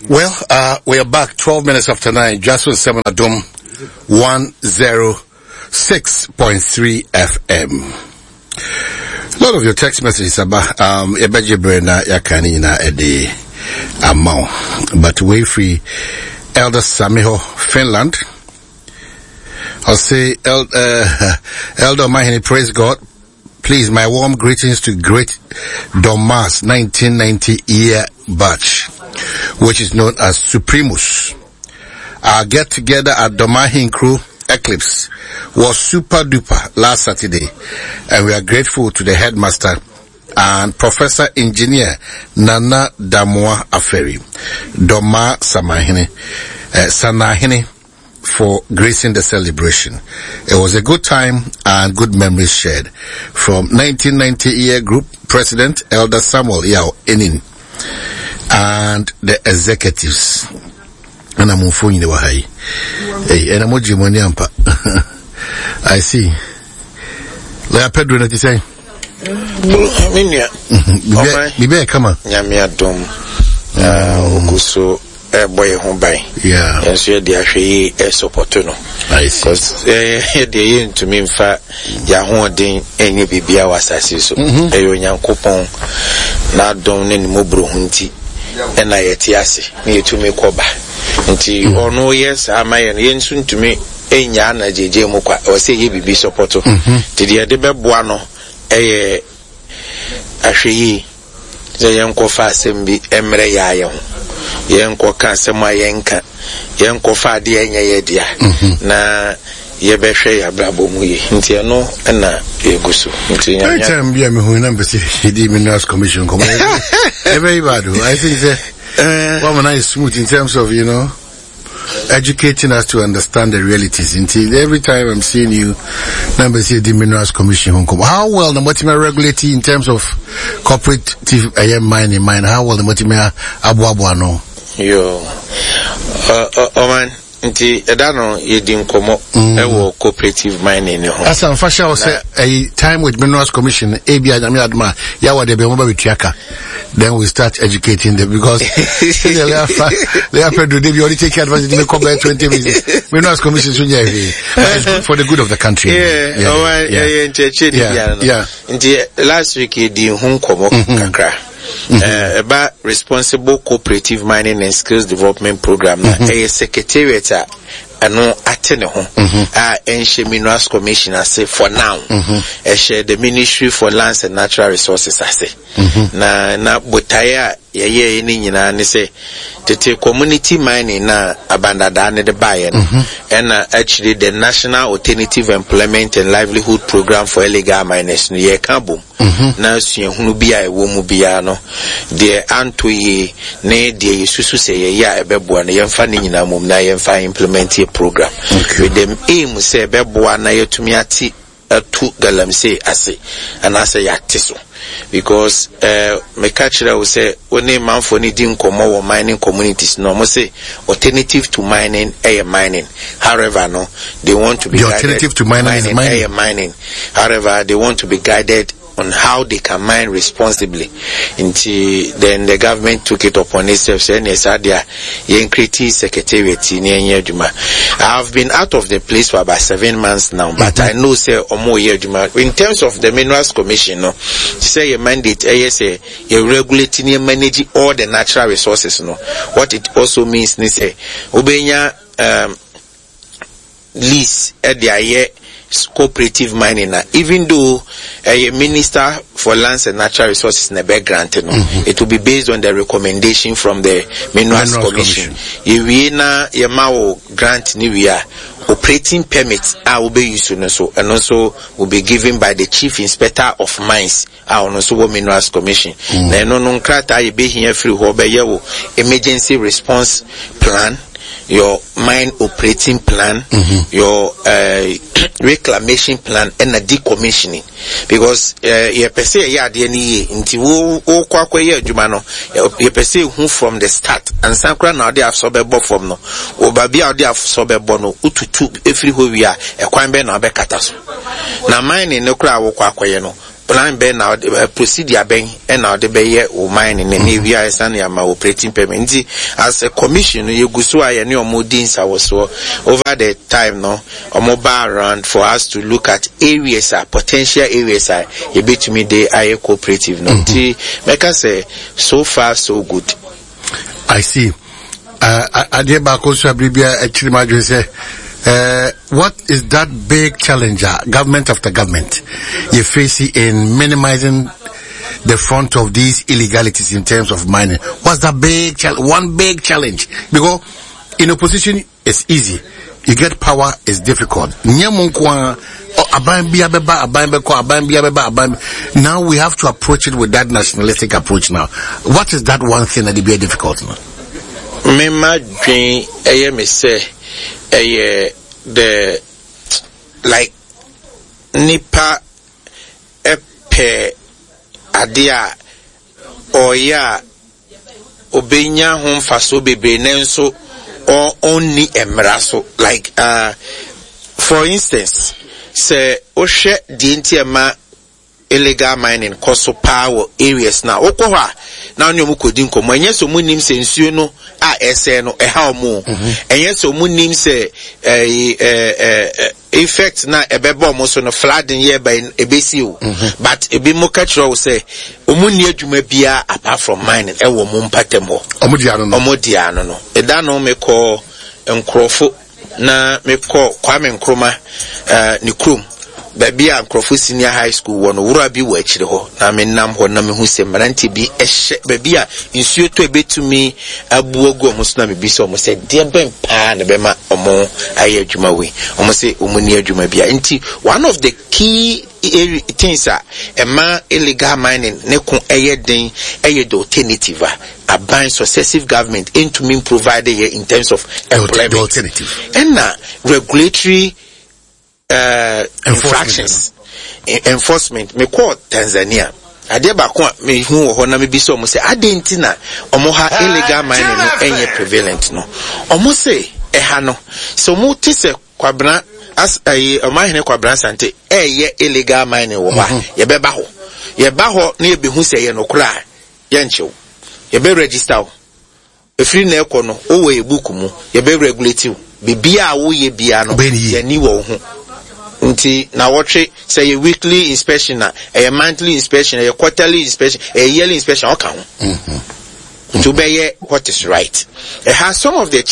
Well, uh, we are back 12 minutes after 9, just with 7 Adom 106.3 FM. A lot of your text messages about um yɛbɛgye berɛ na yɛaka ne nyinaa ɛde ama wo. But way free Elder Samiho, Finland. I'll say, El, uh, Elder Mahini, praise God. Please, my warm greetings to great Domas 1990 year batch, which is known as Supremus. Our get together at Domahin Crew Eclipse was super duper last Saturday, and we are grateful to the headmaster and Professor Engineer Nana Damoa Aferi, Doma Samahine, uh, Sanahine, for gracing the celebration. It was a good time and good memories shared. From 1990 year group president Elder Samuel Yao Enin and the executives. And I'm on phone Hey, and I'm on I see. Lawyer Pedro, what you say? Me nua. Bibi ayɛ kama. Nyame adom. Ogu so ɛbɔ yɛn ho ban. Yɛn nso yɛde ahwɛ yie ɛsɔpɔto no. Because yɛdeɛ yɛntumi mfa yɛn ahoɔden ɛnyɛ biribiara wɔ asase so. Mm-hmm. Ɛyɛ Onyankopɔn n'adom ne ne mmɔborɔhu nti ɛna yɛte ase na yɛtumi kɔ ba. Nti mm. ɔno yɛ saa ma yɛn yɛn nso ntumi nnyaa no agyegye mu kwa. Ɛwɔ sɛ yɛyɛ biribi sɔpɔto. Nti deɛ yɛde bɛboa no yɛ ahwɛyie sɛ yɛnkɔfa asɛm bi mmrɛ yɛn ara yɛn ho. Yɛnkɔka asɛm a yɛnka. Yɛnkɔfa adeɛ a ɛnyɛ yɛn dea. Na yɛbɛhwɛ yɛn abrabɔ mu yie. Nti ɛno na yɛgu so. Nti Nyame. Anytime bi a mehu na mpɛ sɛ yɛdi Minerals Commission nkɔmmɔ. Ɛbɛyi bad o. I think sɛ wɔama no ayɛ smooth in terms of, you know, educating us to understand the realities. Nti every time I'm seeing you, number say the Minerals Commission ho nkɔmmɔ. How well na motumi regulate in terms of cooperative ɛyɛ mining mine? How well na motumi aboaboa ano? Yo, ɔman nti ɛda no yɛdi nkɔmmɔ ɛwɔ cooperative mining ne ho. Asa nfa hyɛ wo sɛ ɛyi time with Minerals Commission ebi a nyame adom a yɛawɔ deɛ bɛn wɔn ba bɛtua ka. Then we start educating them because they are Pedro they already take advantage they come back 20 minutes. Minerals Commission so yeah, but it's good for the good of the country. Yeah, yeah, yeah, yeah, yeah, yeah. Nti last week yɛdi ho nkɔmmɔ kakra. Ɛba responsible cooperative mining and skills development program na ɛyɛ secretariat a ɛno ate ne ho a ɛnhyɛ Minerals Commission ase for now. Ɛhyɛ the Ministry for Lands and Natural Resources ase. Na na botaeɛ a yɛyɛeɛ no nyinaa ne sɛ tete community mining no a abandadaa no de baeɛ no ɛna akyire the National Alternative Employment and Livelihood Program for Illegal Miners no yɛreka abom na suahunu bi a ɛwɔ mu biara no deɛ antɔ yie ne deɛ yɛsusu sɛ yɛyɛ a ɛbɛboa no yɛmfa ne nyinaa mmom na yɛmfa implement yɛ program with the aim sɛ ɛbɛboa na yɛatumi ate atu galamsey ase anaasɛ yɛate so because eh, meka kyerɛ wo sɛ wo ne manfoɔ no di nkɔmmɔ wɔ mining communities no ɔmo se alternative to mining ɛyɛ mining however no they want to be The guided alternative to mining is mining. ɛyɛ mining however they want to be guided on how they can mine responsibly nti then the government took it upon itself sɛ ɛneɛ saa deɛ a yɛn create secretariat yi na yɛnyɛ adwuma. I have been out of the place for about 7 months now, but I know sɛ ɔmo yɛ adwuma in terms of the Minerals Commission no, sɛ yɛ mandate ɛyɛ sɛ yɛ regulate ne yɛ manage all the natural resources no. What it also means ne sɛ wobɛnya lease ɛde ayɛ cooperative mining na even though ɛyɛ Minister for Lands and Natural Resources na ɛbɛ grant no, it will be based on the recommendation from the Minerals Minerals Commission. Yɛwie na yɛma wo grant ne wie a, operating permit a wobɛyi so no so ɛno nso will be given by the Chief Inspector of Mines a ɔno nso wɔ Minerals Commission. Na ɛno no nkrataa yɛbɛhia firi hɔ bɛyɛ wo emergency response plan, your mine operating plan, your reclamation plan ɛna decommissioning, because yɛpɛ sɛ yɛyɛ adeɛ no yie nti wo wokɔ akɔyɛ adwuma no, yɛpɛ sɛ ehu from the start ansa koraa na ɔde asɔ bɛbɔ fam no, wɔ baabi a ɔde asɔ bɛbɔ no, wotutu efiri hɔ wie a, ɛkwan bɛn na wabɛkata so na mining no koraa wokɔ akɔyɛ no. Plan bɛn na ɔde eh, procedure bɛn na ɔde bɛyɛ wo mining ne ne ewia ɛsan de ama operating permit. Nti as a commission no yɛgu so a yɛne ɔmo di nsawɔsoɔ over the time no ɔmo ba around for us to look at areas a potential areas a yɛbɛtumi de ayɛ cooperative no. Nti mɛka sɛ so far so good. I see. Uh, adeɛ baako nso a biribi a akyiri mu adwene sɛ uh, what is that big challenge uh, government after government you face in minimizing the front of these illegalities in terms of mining? What's that big challenge? One big challenge because in opposition It's easy you get power is difficult nyɛ mo nko ara aban bia bɛba aban bɛkɔ aban bia bɛba aban now we have to approach it with that nationalistic approach now what is that one thing that be difficult no. Mema dwen ɛyɛ me sɛ ɛyɛ the like nipa ɛpɛ adeɛ a ɔyɛ a obenya ho mfasoɔ bebree nanso ɔnni mmara so like uh, for instance sɛ wohwɛ deɛ nti ɛma illegal mining kɔ so paa wɔ areas na wokɔ hɔ a na ɔne ɔmo kɔdi nkɔmmɔ ɛnyɛ sɛ ɔmo nim sɛ nsuo no a ɛsɛe no ɛha ɔmo o mhm. ɛnyɛ sɛ ɔmo nim sɛ ɛɛ ɛɛ Effect na ɛbɛba ɔmo so no flooding yɛ ba ebesi o mhm. but ebi mo ka kyerɛ wo sɛ ɔmo nni adwuma biara apart from mining ɛwɔ ɔmo mpatam hɔ. Ɔmo di ano no. Ɔmo di ano no. Ɛda no mekɔ nkorɔfo na mekɔ Kwame Nkrumah uh, ne kurom baabi a nkurɔfo senior high school wɔ no wura bi wɔ akyire hɔ na menam hɔ na mehu sɛ mmeranteɛ bi hyɛ baabi a nsuo tɔ ebetumi abu agu wɔn so na mebisa wɔn sɛ deɛ bɛn paa na ɛbɛma wɔn ayɛ adwuma wei wɔn sɛ wɔn ni adwuma bia nti one of the key things a ɛma illegal mining ne ko ɛyɛ den ɛyɛ the alternative a aban successive government ntumi provide yɛ in terms of employment ɛna regulatory uh, infractions enforcement mekɔɔ Tanzania adeɛ baako a mehu wɔ hɔ na mebisa wɔn sɛ adeɛ nti na wɔn ha illegal mining no ɛnyɛ prevalent no wɔn se ɛha no sɛ wɔn te sɛ kwabena as ɛyi ɔmanhene kwabena sante ɛyɛ illegal mining wɔ hɔ a mhm. yɛbɛba hɔ yɛba hɔ na yɛbɛhu sɛ ɛyɛ nokorɛ a yɛnkyew yɛbɛ register wo Ɛfiri nnɛ rekɔ no, wowɔ yɛ book mu, yɛbɛ regulate wo. Biribiara a woyɛ biara no, yɛn ani wɔ wo ho. Nti nawɔtwe, sɛ ɛyɛ weekly inspection a, ɛyɛ monthly inspection, ɛyɛ quarterly inspection, ɛyɛ yearly inspection, ɔka ho. Nti wobɛyɛ what is right. Ɛha some of the.